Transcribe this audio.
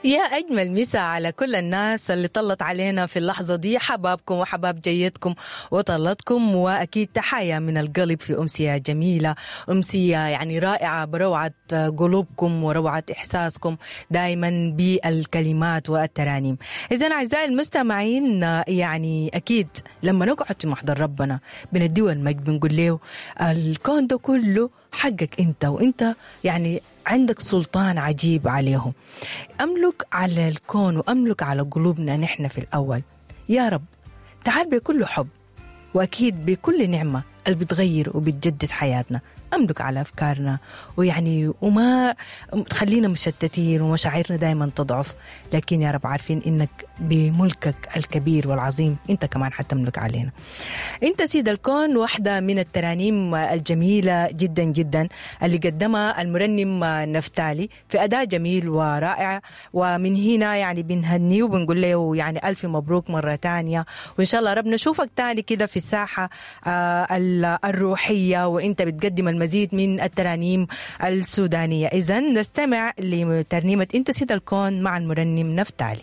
يا أجمل مسا على كل الناس اللي طلت علينا في اللحظة دي، حبابكم وحباب جيتكم وطلتكم، وأكيد تحايا من القلب في أمسية جميلة، أمسية يعني رائعة بروعة قلوبكم وروعة إحساسكم دايما بالكلمات والترانيم. إذا أعزائي المستمعين، يعني أكيد لما نقعد في محضر ربنا بنديه المجد، بنقول له الكون ده كله حقك أنت، وأنت يعني عندك سلطان عجيب عليهم. أملك على الكون وأملك على قلوبنا نحن في الأول يا رب. تعال بكل حب وأكيد بكل نعمة اللي بتغير وبتجدد حياتنا. أملك على أفكارنا ويعني وما تخلينا مشتتين ومشاعرنا دايما تضعف، لكن يا رب عارفين إنك بملكك الكبير والعظيم أنت كمان حتملك علينا. أنت سيد الكون واحدة من الترانيم الجميلة جدا جدا اللي قدمها المرنم نفتالي في أداء جميل ورائع، ومن هنا يعني بنهنيه وبنقول له يعني ألف مبروك مرة تانية، وإن شاء الله رب نشوفك تاني كده في الساحة الروحية وإنت بتقدم المزيد من الترانيم السودانية. إذن نستمع لترنيمة أنت سيد الكون مع المرنم نفتالي.